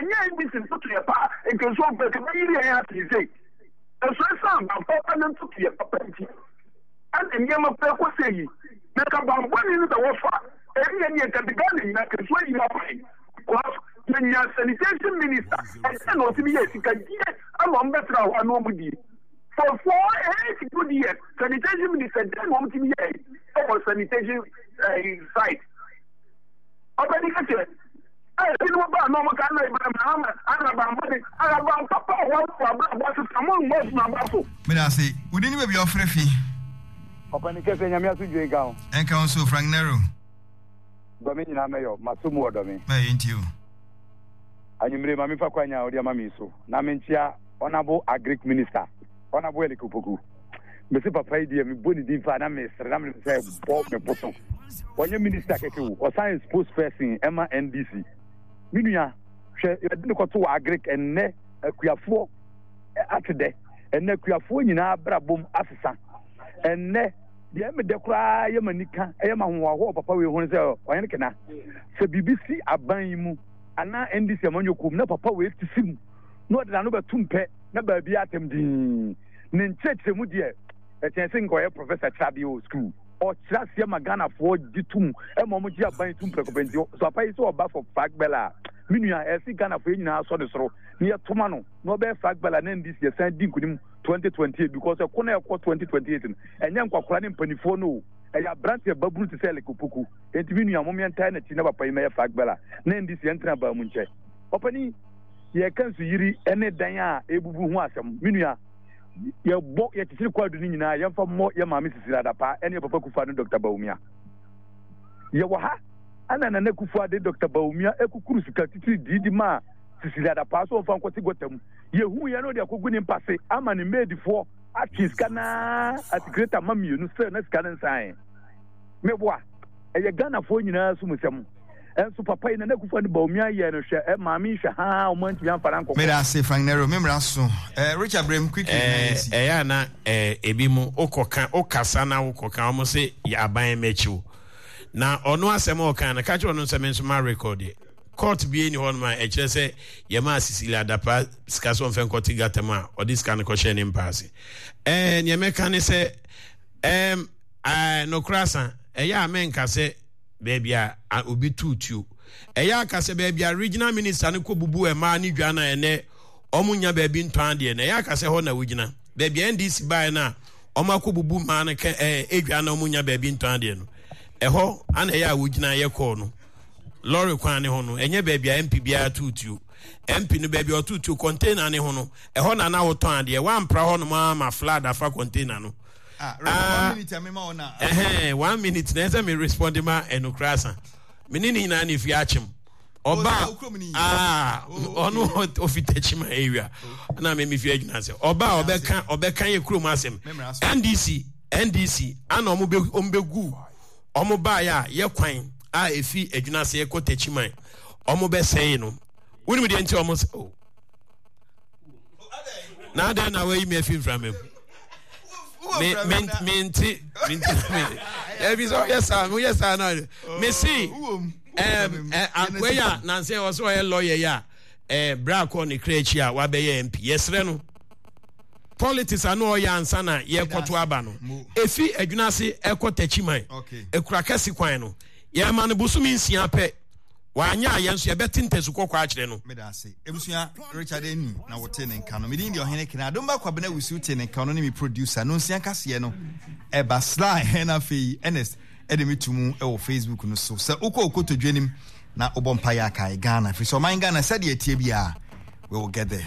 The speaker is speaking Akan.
Ɛnyɛ NDC ntotoeɛ pa a, nka nsuo mpo nka ɛbɛyiri yɛn ase sei. Nso ɛsiane banpapa ne ntotoeɛ papa nti, ɛna nneɛma kura kɔ sɛ yi. Na nka banbɔne no bɛwɔ so a, ɛnneɛ neɛ nka de Ghana nyinaa nka nsuo ayiri afa yɛn. Because yɛnya sanitation minister, ɛdeɛn na ɔtumi yɛ sika die ama wɔn bɛtena hɔ a na wɔn die. For 4 8 good years, sanitation minister deɛn na wɔn tumi yɛ ɛwɔ sanitation eh, side. Ɔbɛni kɛkyɛ. Ebinom ba a na wɔka na Ibrahim Mahama ana banbɔne ana ban papa a wɔn wɔ abrabɔ asesa mo mmɔ adwuma aba so. Meda ase. Wo din ne baabi a wofrɛ fi? Ɔpani kɛseɛ Nyame asomdwoe nka wo. Ɛnka wo nso Frank Nero. Dɔ me nyinaa mɛyɔ, maso mu ɔdɔ me. Mɛyɛ nti o. Anwummere ma memfa kwanya a wode ama me yi so na menkyea Honourable Agric Minister, Honourable Eric Opoku. Mese papa yi deɛ mebɔ ne din paa na mesere na menim sɛ bɔ me bo so. Ɔnyɛ minister kɛkɛ o, ɔsan yɛ spokesperson ɛma NDC. Me nua, hwɛ yɛde ne kɔto wɔ agric ɛnnɛ akuafoɔ ate dɛ. Ɛnnɛ akuafoɔ nyinaa abrabom asesa. Ɛnnɛ deɛ ɛmedɛ koraa yɛ m'ani ka ɛyɛ m'ahohoahoa wɔ papa wei ho ne sɛ ɔhene kena. Sɛ biribi si aban yi mu anaa NDC amanyɔkuo mu na papa wei te si mu na ɔde n'ano bɛtom pɛ na baabi atɛm dinn. Ne nkyerɛkyerɛmu deɛ, ɛkyɛn sɛ nka ɔyɛ professor kyerɛ adeɛ wɔ sukuu. Ɔkyerɛ aseɛ ma Ghanafoɔ gye tom ma wɔn gye aban tom prɛko pɛ. Nti sɛ papa yi sɛ ɔba for flag bearer a, me nua, ɛsɛ Ghanafoɔ yɛn nyinaa sɔ ne soro na yɛto ma no na ɔbɛyɛ flag bearer na NDC yɛsan di nkunim 2028 because ɛko na ɛkɔ 2028 no, ɛnyɛ nkwakora ne mpanifoɔ no o, ɛyɛ aberanteɛ babunu te sɛ Eric Opoku. Enti me nua, mom yɛntae n'akyi na papa yi mɛyɛ flag bearer na NDC yɛntena baa mu nkyɛ. Ɔpanin, yɛreka nsuyiri ne dan a ɛrebubu ho asɛm. Me nua, yɛbɔ yɛkyekyere kwaadu no nyinaa, yɛmfa mmɔ yɛn maame Cecilia Dapaah ne yɛn papa Kufuor ne Dɔkta Bawumia. Yɛwɔ ha ɛna Nana Kufuor de Dɔkta Bawumia kukuru sika titiri dii de maa Cecilia Dapaah sɛ ɔmfa nkɔte gɔta mu. Yɛhuu yɛn na ɔde akɔgu ne mpase ama ne maidifoɔ atwe sika no ara atikreta ma mmienu sɛ na sika no nsaeɛ. Meboa. Ɛyɛ Ghanafoɔ nyinaa so mu sɛm. Ɛnso papa yi Nana Akufo Addo Bawumia yɛɛ no hwɛ ɛ maame yi hwɛ haa ɔmo antumi amfa no ankɔkɔ. Meda ase Frank Nero, me mmara so. Eh, Richard Brem, quickly na Eh, yɛnsi. ɛyɛ a na eh, ebi mo wokɔka wokasa na wokɔka wɔn se yɛ aban mɛkyiw na ɔno asɛm a ɔka no ka kyerɛ ɔno sɛ me nso ma record court bie ni hɔnom a ɛkyerɛ sɛ yɛmaa Cecilia Dapaah sika sɛ ɔmfɛ nkɔte gata mu a ɔde sika no kɔhyɛ ne mpa ase ɛɛ nea mɛka ne sɛ ɛɛm Ɛɛ, nokorɛ asa, ɛyɛ a menka sɛ baabi a obi too tuo. Ɛyɛ a ka sɛ baabi a regional minister no kɔbubu mmaa ne dwa no a ɛnɛ wɔn nnya baabi ntɔn adeɛ no, ɛyɛ a ka sɛ hɔ na wogyina. Baabi a NDC baeɛ no a wɔn akɔbubu mmaa no kɛ ɛɛ edwa na wɔn nnya baabi ntɔn adeɛ no, ɛhɔ ana ɛyɛ a wogyina yɛ kɔɔ no. Lɔre kwan ne ho no, ɛnyɛ baabi a MP biara too tuo. MP no baabi a ɔtoo tuo container ne ho no, ɛhɔ na na wotɔn adeɛ. Wampra hɔ nom ara ma flood afa container no. Ah, ah, one minute a mema wo na. Ɛhɛn, one minute na ɛsɛ me respond ma ɛnokora asa. Me ne ne nyinaa na efi akyem. Ɔba ah, ɔno ofi Techiman area na me me fi adwuma sɛ ɔba ɔbɛka ɔbɛka yɛ kurom asɛm. NDC NDC ana ɔmo bɛ ɔmo bɛ gu ɔmo baayɛ a yɛ kwan a efi adwuma ase kɔ Techiman ɔmo bɛ sɛe no. Wonim deɛ nti ɔmo sɛ oh. Na adɛn na wayi me afi mframa mu? Me me mente mente me ɛbi sɛ ɔyɛ saa ɔyɛ saa na me si ɛm ɛ akoa yi a nansi ɔsɛ ɔyɛ lɔya yi a ɛɛ bra kɔ ne kra akyi a wabɛyɛ MP yɛsrɛ no politics ano ɔyɛ ansa na yɛkɔto aba no efi adwuna ase ɛkɔ takyiman ekura kɛse kwan no yɛma no bosomi nsia pɛ. Wanyɛ a, yɛn nso yɛbɛte ntasu kɔkɔɔ akyerɛ no. Meda ase. Ebusua, Richard Enu na wɔte ne nka no. Me din de Ɔhene Kene. Adomba Kwabena Wusu te ne nka, ɔno ne me producer. Nonsia kaseɛ no ɛba Sly na afei Ernest ɛde me to mu wɔ Facebook no so. Sɛ wokɔ okotodwe nim na wobɔ mpaeɛ akae Ghana, firi sɛ ɔman Ghana sɛdeɛ ɛteɛ biara, we will get there.